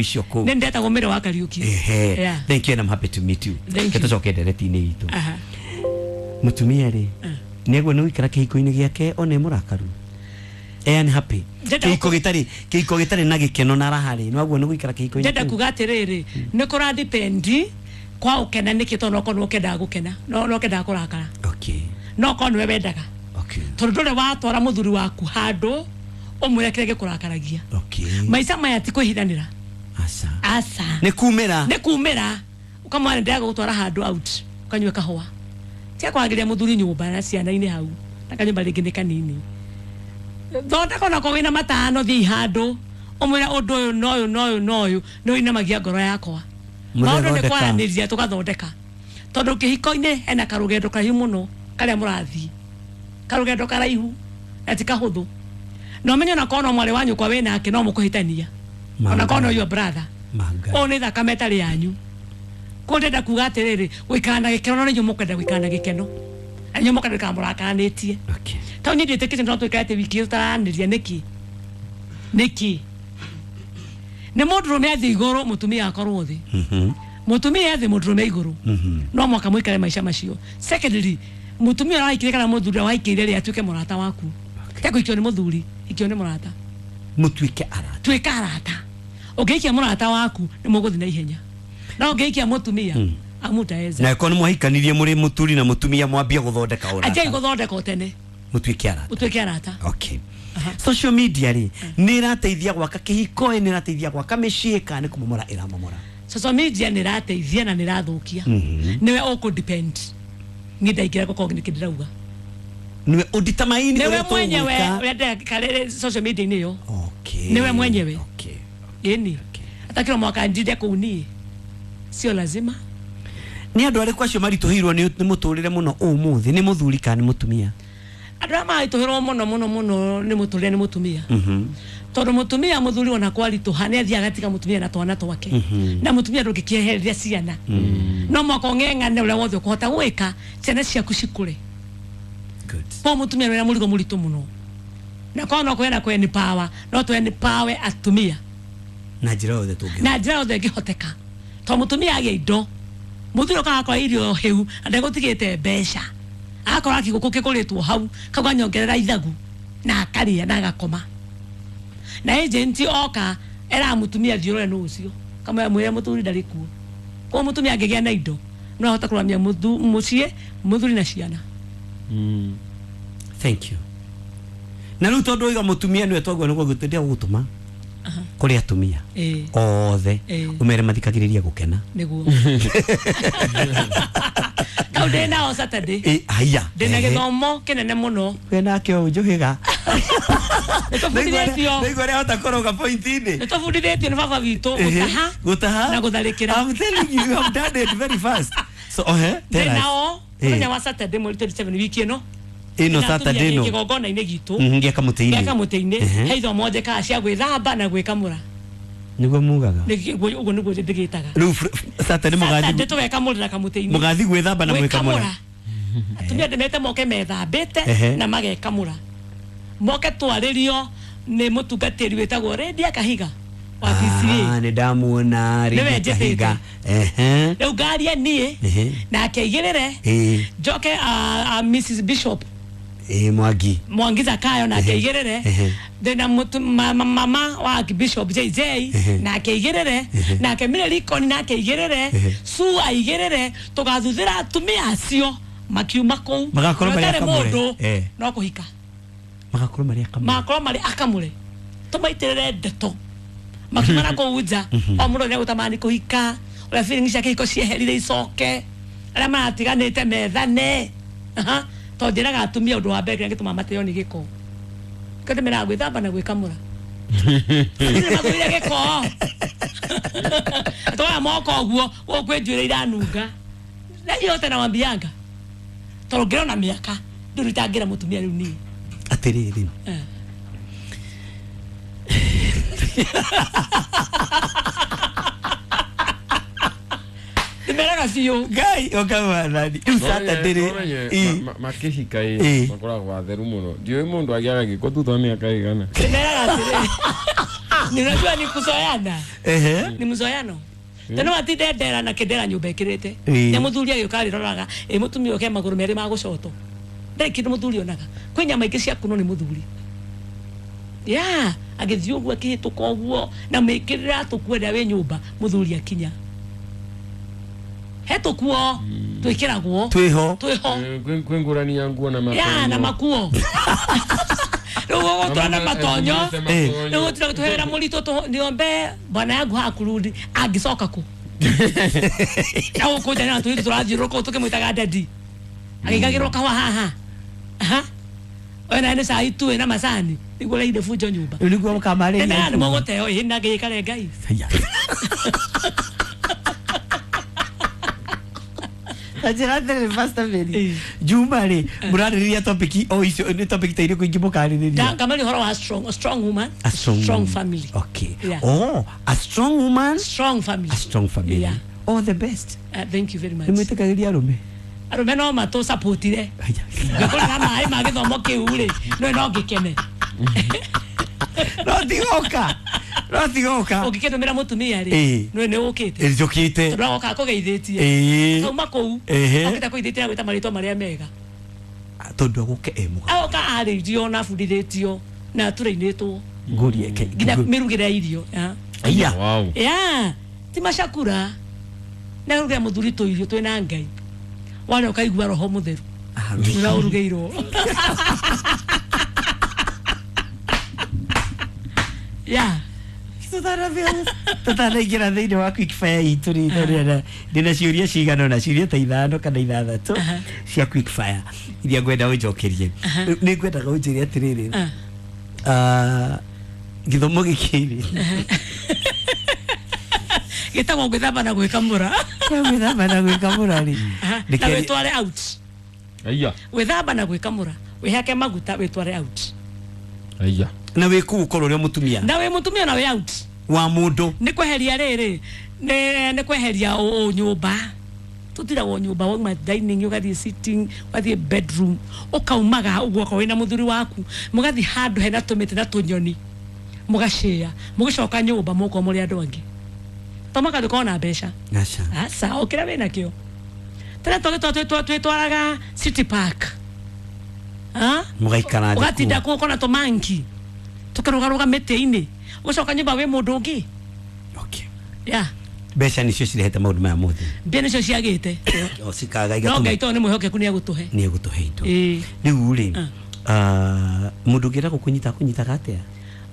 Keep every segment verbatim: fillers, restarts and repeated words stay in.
Icio kũu. Nĩ ndetagwo Mary wa Kariuki. Ehe. Yeah. Thank you and I'm happy to meet you. Thank you. Tũcoke ndereti-inĩ itũ. Aha. Mũtumia rĩ, nĩguo nĩ gũikara kĩhiko-inĩ gĩake ona e mũrakaru, e unhappy? Ndenda Kĩhiko gĩtarĩ kĩhiko gĩtarĩ na gĩkeno na raha rĩ, nĩwaguo nĩ gũikara kĩhiko-inĩ Ndenda kĩu? kuga atĩrĩrĩ, nĩ kũra depend kwa ũkena nĩkĩ, tondũ nokorwo nĩ ũkendaga gũkena, no no ũkendaga kũrakara. Okay no korwo nĩwe wendaga, okay tondũ ndũrĩ watwara mũthuri waku handũ ũmwĩre kĩrĩa gĩkũrakaragia. Okay maica maya ti kwĩhithanĩra. Aca. Aca. Nĩ kumĩra. Nĩ kumĩra, ũkamwĩra ndĩraga gũtwara handũ out ũkanyue kahũa, tiga kwagĩria mũthuri nyũmba na ciana-inĩ hau na kanyũmba rĩngĩ nĩ kanini. Thondeka onako wĩna matano, thiĩ handũ ũmwĩre ũndũ ũyũ na ũyũ na ũyũ na ũyũ nĩ ũinamagia ngoro yakwa. Maũndũ nĩ Mũrĩathondeka. Kwaranĩria tũgathondeka, tondũ kĩhiko-inĩ hena karũgendo karaihu mũno karĩa mũrathiĩ, karũgendo karaihu na ti kahũthũ, na ũmenye onakorwo no mwarĩ wa nyũkwa wĩ nake no mũkũhĩtania, onakorwo no your brother. Manga. Ũyũ nĩ thakame ĩtarĩ yanyu. Koguo ndĩrenda kuga atĩrĩrĩ, gũikara na gĩkeno, no nĩ inyuĩ mũkwenda gũikara na gĩkeno na inyuĩ mũkwenda gũikara mũrakaranĩtie. Okay tondũ niĩ ndiĩtĩkĩtie no tũikare atĩ wiki tũtaranĩria. Nĩkĩ? Nĩkĩ? Nĩ mũndũrũme athiĩ igũrũ, mũtumia akorwo thĩ. Mhm. Mũtumia athĩ, mũndũrũme igũrũ. Mhm. No mwaka mũikare maica macio. Secondly, mũtumia ũrĩa waikire kana mũthuri ũrĩa waikire rĩ, atuĩke mũrata waku. Te kũikio nĩ mũthuri, ikio nĩ mũrata. Mũtuĩke arata. Tuĩka arata. Ũngĩikia mũrata waku nĩ mũgũthiĩ na ihenya, no ũngĩikia mũtumia amutaeza. Na ĩkorwo nĩ mwahikanirie mũrĩ mũturi na mũtumia, mwambie gũthondeka anjai ũrata. Gũthondeka o tene. Mũtuĩke arata. Ũtuĩke arata. Okay, social media rĩ, nĩ ĩrateithia gwaka kĩhiko, ĩ nĩ ĩrateithia gwaka mĩciĩ, kana nĩ kũmomora ĩramomora? Social media nĩ ĩrateithia na nĩ ĩrathũkia. Mhm. Nĩwe ũkũ depend, niĩ ndaingĩra gũkorwo nĩkĩ ndĩrauga. Nĩwe ũnditamaini. Nĩwe ũrĩa mwenyewe tũgwĩka. ũrĩa ndĩrakarĩre social media-inĩ ĩyo. Okay. Nĩwe mwenyewe. Okay. Ĩni atakĩrwo mwaka njinde kũu, niĩ sio lazima. Nĩ andũ arĩkũ acio maritũhĩirwo nĩ nĩ mũtũrĩre mũno ũmũthĩ, nĩ mũthuri kana nĩ mũtumia? Andũ arĩa maritũhĩrwo mũno mũno mũno nĩ mũtũrĩre nĩ mũtumia, Mhm. tondũ mũtumia, mũthuri ona kwaritũha nĩ athiaga agatiga mũtumia na twana twake, na mũtumia ndũngĩkĩehereria ciana. No mwaka ũng'eng'ane ũrĩa wothe ũkũhota gwĩka ciana ciaku cikũre. Good. Kwa mũtumia nĩ mũrigo mũritũ mũno, na korwo no kwena kweni power, no tweni power atumia. Na njĩra yothe tũngĩhota. Na njĩra yothe ĩngĩhoteka, tondũ mũtumia agĩa indo, mũthuri ũkaga akora irio hĩu na ndegũtigĩte mbeca, agakora kĩgũkũ kĩgũrĩtwo hau kau ganyongerera ithagu na akarĩa na agakoma, na agent oka eraga mũtumia thiĩ ũrore nũ ũcio, kamwĩra mwĩre mũthuri ndarĩ kuo. Koguo mũtumia angĩgĩa na indo no ahote kũramia mũthu- mũciĩ, mũthuri na ciana. Thank you. Na rĩu tondũ oiga mũtumia nĩwe twaguo nĩguo gũtũndia gũgũtũma kũrĩ atumia Ĩĩ. othe, Ĩĩ. ũmere mathikagĩrĩrie gũkena. Nĩguo kau ndĩ nao Saturday. Ĩ, haya. Ndĩna Ehe. gĩthomo kĩnene mũno. We nake ũyũ njũhĩga. Nĩtũbundithĩtio. Nĩigua ũrĩa ahota kũrũga point-inĩ. Nĩtũbundithĩtio nĩ baba witũ gũtaha gũtaha na gũtharĩkĩra. I'm telling you, you have done it very fast. So ohe, tell ndĩ us. nao Ĩ. mũthenya wa Saturday mweri mĩrongo ĩĩrĩ na mũgwanja wiki ĩno. Ĩno Ndĩna Saturday atumia ĩno. kĩgongona-inĩ gitũ. Mhm, gĩa kamũtĩ-inĩ. Gĩa kamũtĩ-inĩ. Ehe. He ithomo njĩkaga cia gwĩthamba na gwĩkamũra. Nĩguo mugaga. Nĩ- ũguo nĩguo ndĩgĩtaga. Rĩu fr- Saturday Saturday mũgathi tũgekamũrĩra kamũtĩ-inĩ. Mũgathi gwĩthamba na gwĩkamũra. Atumia ndĩmete moke methambĩte Ehe. na magekamũra, moke twarĩrio nĩ mũtungatĩri wĩtagwo Rendia Kahiga wa P C A. Ah, nĩ ndamuona. Nĩwe Rĩngĩ njĩtĩte. Kahiga. Ehe. Rĩu ngaria niĩ Ehe. nake aigĩrĩre. Ĩ. Njoke ah, ah, Missus Bishop Ĩ, Mwangi. Mwangi Zakayo nake Ehe. aigĩrĩre. Ehe. Ndĩna mũtu- ma- ma- mama wa Bishop J J Ehe. nake aigĩrĩre, nake Mire nake aigĩrĩre, Ehe. Su aigĩrĩre. Tũgathuthĩra atumia acio makiuma kũu. Magakorwo marĩ Gũtarĩ akamũre. mũndũ Eh. no kũhika. Magakorwo marĩ akamũre. Magakorwo marĩ akamũre, tũmaitĩrĩre ndeto makiuma na kũu nja. O mũndũ nĩegũtamani kũhika, ũrĩa feeling cia kĩhiko cieherire icoke, arĩa maratiganĩte methane. Aha. Tondũ njĩraga atumia ũndũ wa mbere kĩrĩa gĩtũmaga mateo nĩ gĩko, kĩo ndĩmeraga gwĩthamba na gwĩkamũra. Atumia mathũire gĩko, twaya moko ũguo gũkũ kwĩ njuĩrĩ iranunga na yote nawambianga, tondũ ngĩrona mĩaka ndũrĩ itangĩra mũtumia rĩu niĩ. Atĩrĩrĩ. Eh. Ndĩmeraga biũ. Ngai ũkamathani rĩu Saturday rĩ. Ĩ. Makĩhika Ĩ. ĩ makoragwo atheru mũno, ndiũĩ mũndũ agĩaga gĩko thutha wa mĩaka ĩgana. Ndĩmeraga atĩrĩrĩ. Ni unajua ni kuzoeana. Ehe. Ni mzoeano. Tena watinde ndera na kindera nyumba ikirite. Ĩĩ. Nĩ mũthuri agĩũka arĩroraga ĩ mũtumia ũke magũrũ merĩ ma gũcoto. Ndarĩ kĩndũ mũthuri onaga. Kwĩ nyama ingĩ cia kuno nĩ mũthuri. Ya, agĩthiĩ ũguo akĩhĩtũka ũguo na mĩkĩrĩra tũkuo ĩrĩa wĩ nyũmba mũthuri akinya. He tũkuo twĩkĩragwo Twĩho. twĩho. Eh, kwĩ ngũrani ya nguo na matonyo. Ya na makuo. Rĩu ũgũtwara na matonyo. Eh. Rĩu gũtira gũtũhera mũritũ tũ niombe bwana yangu hakurudi angĩcoka kũ. Na gũkũ nja na tũirĩtu tũrathiũrũrũka tũkĩmwĩtaga daddy. Agĩkagĩrwo kahũa haha. Aha. Oe na nĩ cai tu na macani nĩguo ũreire bunjo nyũmba. Rĩu nĩguo mũkamarĩria. Tena nĩ mũgũteo ĩ na ngĩikare Ngai. Haya. Ta njĩra atĩrĩrĩ Pastor Mary. Ĩĩ. Juma rĩ mũrarĩrĩria topic o icio nĩ topic ta irĩkũ ingĩ mũkarĩrĩria? Ngamari ũhoro wa strong, a strong woman, A strong, strong woman. family. Okay. Yeah. Oh, a strong woman, Strong family. a strong family. Yeah. All the best. Uh, thank you very much. Nĩ mwĩtĩkagĩria arũme? Arũme no matũ supportire. Haya. Ngĩkũrĩra maĩ ma gĩthomo kĩu rĩ, no no ngĩkene. No tigoka. No tigoka. Ũngĩkĩndũmĩra mũtumia rĩ, Ĩĩ. no nĩ ũkĩte. Njũkĩte. Tondũ agoka akũgeithĩtie. Ĩĩ. Kauma kũu, Ehe. okĩte kũgeithĩtie na gwĩta marĩtwa marĩa mega. Tondũ agũke e mũgaka. Agoka arĩirio na abundithĩtio na atũrainĩtwo Ngũrie ke. nginya mĩrugĩre ya irio. Ya. Aya. Wow. Ya, ti macakura. Na rugĩra mũthuri tũirio twĩna Ngai. Warĩa ũkaigua roho mũtheru. Ũrĩa ũrugĩirwo. Ya. Tutanaingĩra thĩinĩ wa quick fire itũ rĩ tondũ ndĩna ciũria cigana ũna ciũria ta ithano kana ithathatũ Aha. cia quick fire iria ngwenda ũnjokerie. Aha. Nĩ ngwendaga ũnjĩre atĩrĩrĩ Ah. ah, gĩthomo gĩkĩ rĩ Gĩtagwo gwĩthamba na gwĩkamũra. kĩa gwĩthamba na gwĩkamũra rĩ Aha. Na Nĩkĩo- wĩtware out. Aya. Gwĩthamba na gwĩkamũra. Wĩhake maguta wĩtware out. Aya. Na wĩ kũu ũkorwo ũrĩ mũtumia Na wĩ mũtumia na wĩ out. wa mũndũ. Nĩ kweheria rĩrĩ nĩ nĩ kweheria ũ nyũmba. Tũtiragwo nyũmba wauma dining ũgathiĩ sitting ũgathiĩ bedroom ũkaumaga ũguo okorwo wĩna mũthuri waku mũgathiĩ handũ hena tũmĩtĩ na tũnyoni mũgacĩa mũgĩcoka nyũmba mũkorwo mũrĩ andũ angĩ to mũhaka ndũkorwo na mbeca. Aca. Aca o kĩrĩa wĩnakĩo. Tene twĩtwaraga City Park. Ah? Mũgaikara thĩ Ũgatinda kũu. kũu ũkona tũmanki tũkĩrũgarũga mĩtĩ-inĩ ũgacoka nyũmba wĩ mũndũ ũngĩ. Okay. Ya. Mbeca nĩcio cirehete maũndũ maya mothe. Mbia nĩcio ciagĩte. O cikaga No igatũma Ngai tondũ nĩ mwĩhokeku nĩ egũtũhe. nĩ egũtũhe indo. Ĩĩ. Rĩu rĩ Ah. ah, mũndũ ũngĩenda gũkũnyita akũnyitaga atĩa?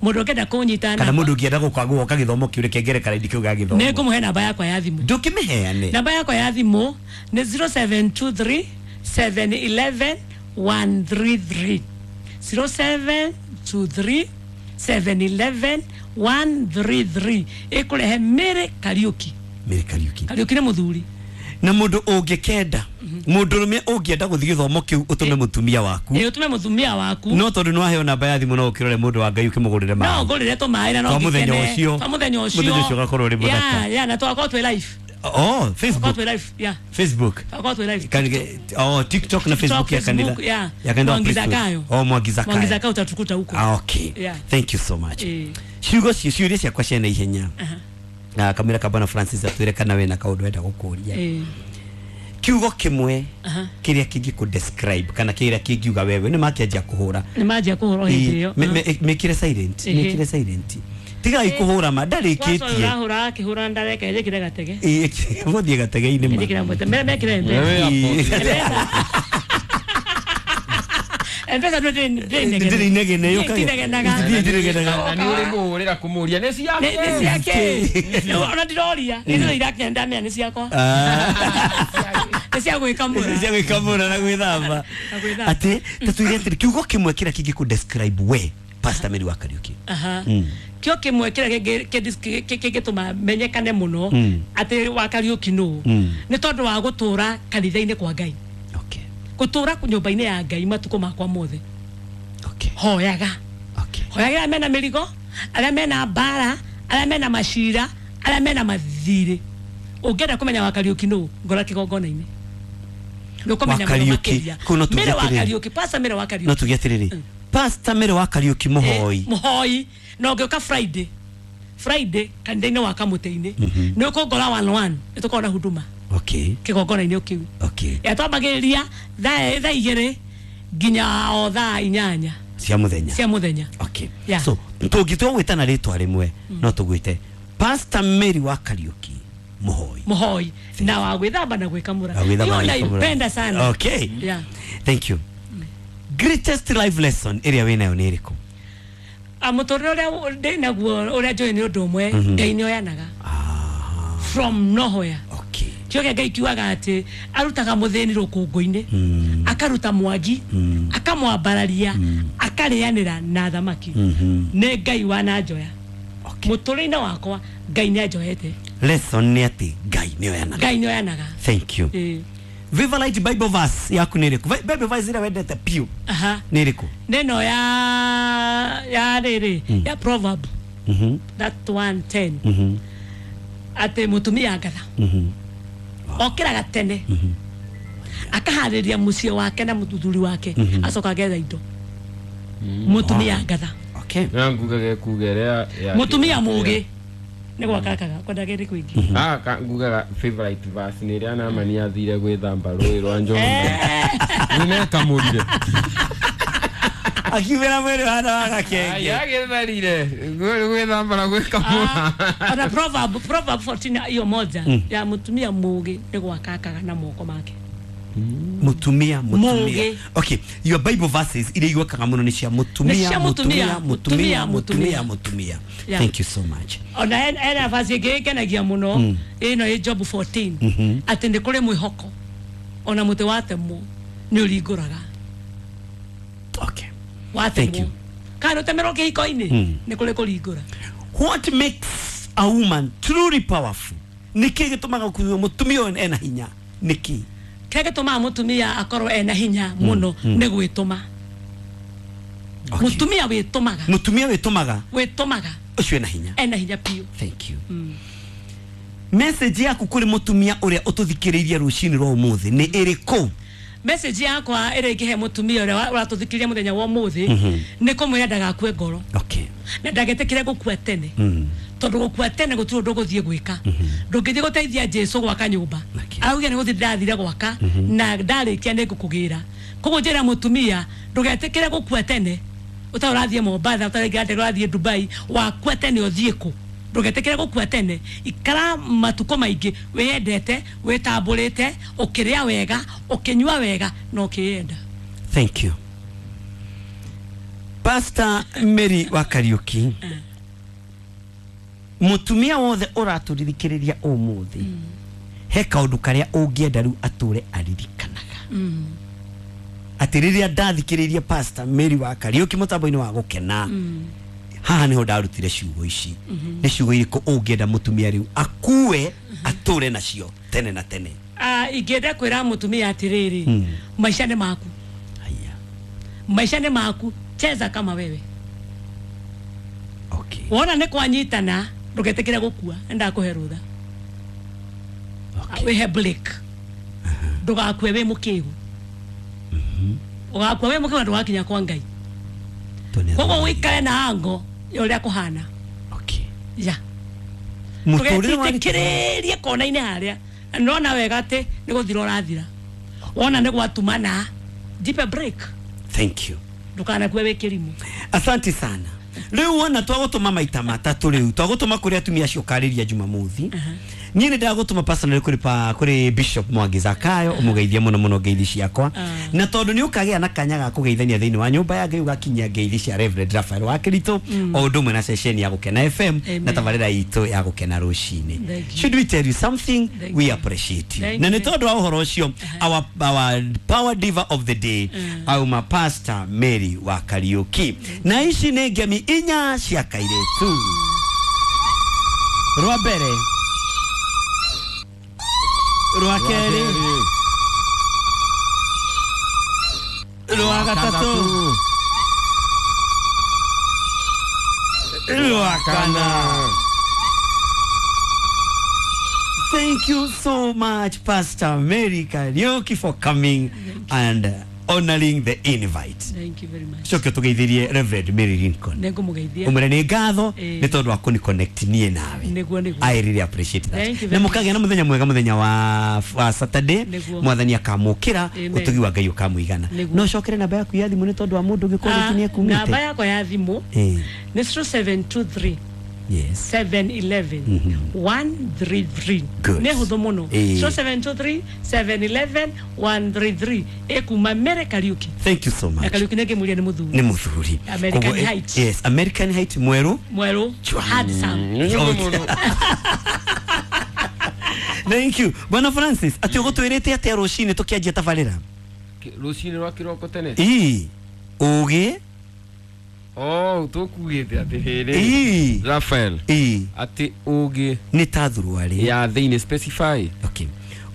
Mũndũ ũngĩenda kũnyita Kana namba- mũndũ ũngĩenda gũka gũka gĩthomo kĩu reke ngere karaindi kĩu gĩa gĩthomo. nĩ ngũmũhe namba yakwa ya thimũ. Ndũkĩmĩheane. Namba yakwa ya thimũ nĩ zero seven two three seven eleven one three three. zero seven two three seven eleven one three three. Ĩkũrehe Mary Kariũki. Mary Kariũki. Kariũki nĩ mũthuri. Na mũndũ ũngĩkenda mũndũrũme ũngĩenda gũthiĩ gĩthomo kĩu ũtũme mũtumia waku. Ĩ ũtũme mũtumia waku. No tondũ nĩ waheo namba ya thimũ no ũkĩrore mũndũ wa Ngai ũkĩmũgũrĩre No maĩ. ngũrĩre tũmaĩ na no Twa mũthenya ngĩkene. ũcio. Twa mũthenya ũcio. Mũthenya ũcio ũgakorwo ũrĩ mũthaka. Ya, ya, na tũgakorwo twĩ live. Oh, Tũgakorwo Facebook. twĩ live, ya. Facebook. Tũgakorwo twĩ live. Kan- oh, TikTok na Facebook ya kanitha. Facebook, yeah. Ya kanitha wa Mwangi Kristo. Zakayo. Oh, Mwangi Zakayo. Mwangi Zakayo utatukuta huko. Ah, okay. Yeah. Thank you so much. Eh. Ciugo cio ciũria ciakwa cia na ihenya. Aha. Na kamera ka Bwana Francis atwĩre kana wĩna kaũndũ wenda gũkũria. Eh. Kiugo kĩmwe Aha. kĩrĩa kĩngĩkũ describe kana kĩrĩa kĩngiuga wewe nĩ makĩanjia kũhũra. Nĩ manjia kũhũra hĩndĩ ĩyo. Ĩ, me- me- mĩkĩre silent, Ehe. mĩkĩre silent. Tigai kũhũra ma ndarĩkĩtie. Ũrahũra akĩhũra ndareka ĩrĩkĩre gatege. Ĩ, gũthiĩ gatege-inĩ ma. Ĩrĩkĩre mwete. Mere mekĩre M-Pesa. Wewe hapo. M-Pesa. M-Pesa ndĩrĩ inegene. Ndĩrĩ inegene, yũkaga. Itinegenaga. Ithiĩ itinegenaga. Na nĩ ũrĩ mũhũrĩra kũmũria nĩ ciake. Nĩ nĩ ciake. Ona ndiroria. Nĩ ndĩro irakinya ndamenya nĩ ciakwa. Nĩ cia gwĩkamũra. Cia gwĩkamũra na gwĩthamba. Na gwĩthamba. Atĩ ta tuge atĩrĩ kiugo kĩmwe kĩrĩa kĩngĩkũ describe we Pastor Mary wa Kariũki. Aha. Mm. Kĩo kĩmwe kĩrĩa kĩngĩ- kĩngĩ- kĩ- kĩngĩtũma menyekane mũno Mm. atĩ wa Kariũki nũ Mm. nĩ tondũ wa gũtũra kanitha-inĩ kwa Ngai. Okay. Gũtũra nyũmba-inĩ ya Ngai matukũ makwa mothe. Okay. Hoyaga. Okay. Hoyaga arĩa mena mĩrigo, arĩa mena mbara, arĩa mena macira, arĩa mena mathirĩ. Ũngĩenda kũmenya wa Kariũki nũ, ngora kĩgongona-inĩ. Nĩ ũkũmenya Wa mũno Kariũki. makĩria. Kũu no tuge Mary wa atĩrĩrĩ. Kariũki, Pastor Mary wa Kariũki. No tuge atĩrĩrĩ Pastor Mary wa Kariũki mũhoi. Eh, mũhoi. Na ũngĩũka Friday Friday kanitha-inĩ wa Kamũtĩ-inĩ nĩ ũkũngora one one nĩ tũkoragwo na huduma Okay. kĩgongona-inĩ o kĩu. Okay. Ya twambagĩrĩria thaa thaa igĩrĩ nginya o thaa inyanya Cia muthenya. cia mũthenya. Okay. Yeah. So tũngĩtua gwĩtana rĩtwa rĩmwe no tũgwĩte Pastor Mary wa Kariuki Mũhoi. Mũhoi na wa gwĩthamba na gwĩkamũra. Wa gwĩthamba Hiyo na gwĩkamũra. naipenda sana. Okay. Yeah. Thank you. Greatest life lesson ĩrĩa wĩnayo nĩ ĩrĩkũ? Ah, mũtũrĩre ũrĩa ndĩ naguo ũrĩa njũĩ nĩ ũndũ ũmwe, Ngai nĩ oyanaga from nowhere. Okay. Kĩo kĩa Ngai kiugaga atĩ arutaga mũthĩni rũkũngũ-inĩ, akaruta mwagi, akamwambararia, akarĩanĩra na thamaki. Nĩ Ngai wananjoya. Okay. Mũtũrĩre-inĩ wakwa Ngai nĩ anjoete. Lesson nĩ atĩ Ngai nĩ oyanaga. Ngai nĩ oyanaga. Thank you. Ĩĩ. Favorite Bible verse yaku nĩ ĩrĩkũ? Bible verse ĩrĩa wendete piũ Aha. nĩ ĩrĩkũ? Nĩ ĩno ya ya rĩrĩ ya proverb Mhm. that one ten Mhm. atĩ mũtumia ngatha Mhm. okĩraga tene akaharĩria mũciĩ wake na mũthuri wake acoka agetha indo. Mũtumia ngatha. Okay. Na ngugaga kuga ĩrĩa ya Mũtumia mũgĩ nĩ gwakakaga kwendaga ĩrĩ kũingĩ. Ah, ka ngugaga favorite verse nĩ ĩrĩa Naamani athire gwĩthamba rũĩ rwa Jorodani. Nĩnekamũrire. Akiumĩra mwĩrĩ hana wa gakenge. Agĩtharire gwĩthamba na gwĩkamũra. Ona proverb proverb fourteen hiyo moja ya mũtumia mũgĩ nĩ gwakakaga na moko make. Mutumia, mutumia. Mũgĩ. Okay, your Bible verses iria igwekaga mũno nĩ cia mutumia, Nĩ cia mutumia, mũtumia, mutumia, mũtumia, mutumia, mutumia. Yeah. Thank you so much. Ona ena verse ĩngĩ ĩngenagia mũno ĩno ĩ Job fourteen atĩ nĩ kũrĩ mwĩhoko ona mũtĩ watemwo nĩ ũringũraga. Okay. Thank Watemwo you. kana ũtemerwo kĩhiko-inĩ nĩ kũrĩ kũringũra. What makes a woman truly powerful? Nĩ kĩĩ gĩtũmaga kuga mũtumia ũyũ ena hinya? Nĩ kĩĩ? Kĩrĩa gĩtũmaga mũtumia akorwo ena hinya mũno nĩ gwĩtũma. Okay. Mũtumia wĩtũmaga. Mũtumia wĩtũmaga. Wĩtũmaga. Ũcio ena hinya. Ena hinya piũ. Thank you. Message yaku kũrĩ mũtumia ũrĩa ũtũthikĩrĩirie rũcinĩ rwa ũmũthĩ nĩ ĩrĩkũ? Message yakwa ĩrĩa ingĩhe mũtumia ũrĩa ũratũthikĩrĩria mũthenya wa ũmũthĩ nĩ kũmwĩra ndagakue ngoro. Okay. Na ndagetĩkĩre gũkua tene. Tondũ gũkua tene gũtirĩ ũndũ ũgũthiĩ gwĩka. Ndũngĩthiĩ gũteithia Jesũ gwaka nyũmba. Okay. Araugire nĩ gũthiĩ ndathire gwaka na ndarĩkia nĩ ngũkũgĩra. Koguo njĩra mũtumia ndũgetĩkĩre gũkua tene. Ũtarĩ ũrathiĩ Mombatha, ũtarĩ ndege ũrathiĩ Dubai, wakua tene ũthiĩ kũ? Ndũgetĩkĩre gũkua tene. Ikara matukũ maingĩ wĩyendete, wĩtambũrĩte, ũkĩrĩa wega, ũkĩnyua wega na ũkĩyenda. Thank you. Pastor Mary wa Kariuki. Mutumia wothe ũratũririkĩrĩria ũmũthĩ he kaũndũ karĩa ũngĩenda rĩu atũre aririkanaga atĩ rĩrĩa ndathikĩrĩirie Pastor Mary wa Kariuki mũtambo-inĩ wa gũkena haha nĩho ndarutire ciugo ici. Nĩ ciugo irĩkũ ũngĩenda mũtumia rĩu akue atũre nacio tene na tene? Ah, ingĩenda kwĩra mũtumia atĩrĩrĩ, maica nĩ maku. Haya. Maica nĩ maku, cheza kama wewe. Okay. Wona nĩ kwanyitana ndũgetĩkĩre gũkua, nĩndakũhe rũtha. Okay. Wĩhe break. Ndũgakue wĩ mũkĩgu. Ũgakua wĩ mũkĩgu na ndũgakinya kwa Ngai. Koguo ũikare na ango ya ũrĩa kũhana. Okay. Ya. Mũtũrĩre wa Ndũgetĩkĩrĩrie kona-inĩ harĩa. Na nĩwona wega atĩ nĩ gũthira ũrathira. Wona nĩ gwatumana, jipe break. Thank you. Ndũkanakue wĩ kĩrimũ. Asante sana. Rĩu wona twagũtũma maita matatũ rĩu twagũtũma kũrĩ atumia acio ũkarĩria Jumamothi. Niĩ nĩ ndagũtũma personally kũrĩ pa kũrĩ Bishop Mwangi Zakayo ũmũgeithie mũno mũno ngeithi ciakwa. Na tondũ nĩ ũkagĩa na kanya ga kũgeithania thĩinĩ wa nyũmba ya Ngai ũgakinyia ngeithi cia Reverend Raphael wa Kĩritũ o ũndũ ũmwe na ceceni ya Gũkena F M na tabarĩra itũ ya Gũkena rũcinĩ. Thank you. Should we tell you something? Thank We you. appreciate you. Thank Na nĩ you. tondũ wa ũhoro ũcio our our power diva of the day auma Pastor Mary wa Kariuki. Na ici nĩ ngemi inya cia kairĩtu. Rwa mbere, rwa kerĩ, rwa gatatũ, rwa kana. Thank you so much, Pastor Mary Kariuki, for coming and uh, honoring the invite. Thank you very much. Coke ũtũgeithirie Reverend Mary Lincoln. Nĩ ngũmũgeithia. Ũmwĩre nĩ ngatho Ĩĩ. nĩ tondũ wa kũni connect niĩ nawe. Nĩguo, nĩguo. I really appreciate that. Thank you Na very mũkagĩa na mũthenya mwega mũthenya wa, wa Saturday. Nĩguo. Mwathani akamũkĩra Amen. ũtugi wa Ngai ũkamũigana. Nĩguo. No ũcokere namba yaku ya thimũ nĩ tondũ wa mũndũ ũngĩkorwo Ah, rĩngĩ nĩ namba ekumĩte. yakwa ya thimũ Ĩĩ. nĩ zero seven two three Yes. seven one one one three three. Good. Nĩ hũthũ mũno. Ĩĩ. zero seven two three seven one one one three three ĩkuma Mere Kariuki. Thank you so Na much. Kariuki nĩ ngĩmũria nĩ mũthuri. Nĩ mũthuri. American Koguo, eh, Height. Yes, American Height mwerũ. Mwerũ. Chwa. Handsome. Nĩ mũno. Thank you. Bwana Francis, atĩ ũgũtwĩrĩte atĩa rũcinĩ tũkĩanjia tabarĩra? Rũcinĩ rwa kĩroko tene. Ĩĩ. Ũgĩ? Oh, tũkugĩte atĩrĩrĩ, Ĩĩ. Rafael, Ĩĩ. atĩ ũgĩ Nĩ ta thuruarĩ. ya thĩinĩ, specify. Okay.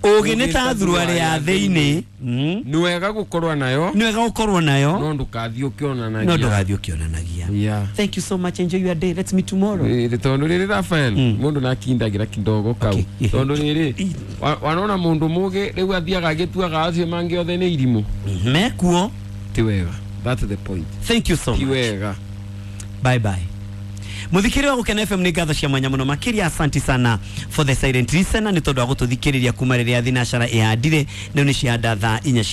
Ũgĩ nĩ ta thuruarĩ ya thĩinĩ. Mm. Nĩ wega gũkorwo nayo, Nĩ wega gũkorwo nayo, no ndũkathiĩ ũkĩonanagia. no ndũgathiĩ ũkĩonanagia. Yeah. Thank you so much. Enjoy your day. Let's meet tomorrow. Ĩĩ, tondũ rĩrĩ, Rafael, Mm. mũndũ nakindagĩra kidogo kau. Okay. Tondũ rĩrĩ, wa- wanona mũndũ mũgĩ rĩu athiaga agĩtuaga acio mangĩ othe nĩ irimũ. Mekuo. Ti wega, that's the point. Thank you so Ti much. wega. Bye bye. Muthikĩrĩria wa Gũkena F M, nĩ ngatho cia mwanya mũno makĩria. Asanti sana for the silent listener nĩ tondũ wa gũtũthikĩrĩria kuma rĩrĩa thinacara ĩhandire. Rĩu nĩ ciahanda thaa inya cia